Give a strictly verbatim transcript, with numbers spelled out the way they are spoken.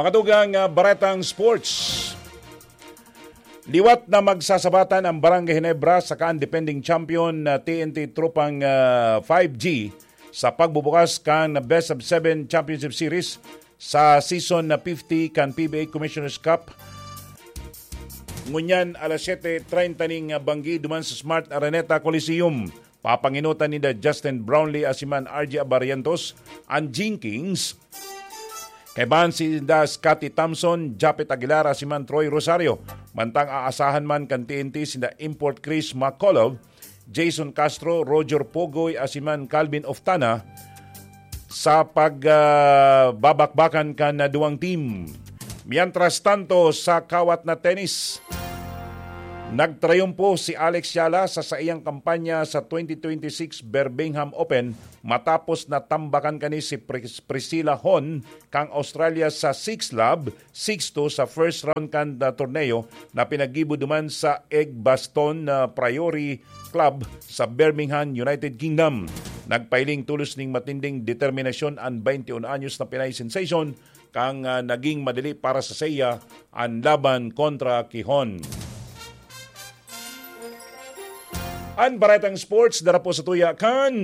Mga tugang, ah, baretang sports. Liwat na magsasabatan ang Barangay Ginebra saka ang defending champion na T N T Tropang, ah, five G sa pagbubukas kan Best of Seven Championship Series sa season na fifty kan P B A Commissioner's Cup. Ngunyan, alas siyete treinta ning banggi duman sa Smart Araneta Coliseum. Papanginutan ninda Justin Brownlee asiman R J Abarientos an Jing Kings. Kaibahan sinda Scotty Thompson, Japet Aguilar asiman Troy Rosario. Mantang aasahan man kan T N T sinda Import Chris McCullough, Jason Castro, Roger Pogoy asiman Calvin Oftana sa pag, ah, babakbakan kan duwang team. Mientras tanto, sa kawat na tennis, nagtrayumpo si Alex Yala sa saiyang kampanya sa twenty twenty-six Birmingham Open matapos na tambakan kani si Pris-, Priscilla Hon kang Australia sa six love, six two sa first round kan, ah, torneo na pinaggibo duman sa Edgbaston, ah, Priory Club sa Birmingham, United Kingdom. Nagpahiling tolos ning matinding determinasyon an twenty-one anyos na Pinay sensation, kang, ah, naging madali para sa seiya an laban kontra ki Hon. An baretang sports, dara po sa tuya kan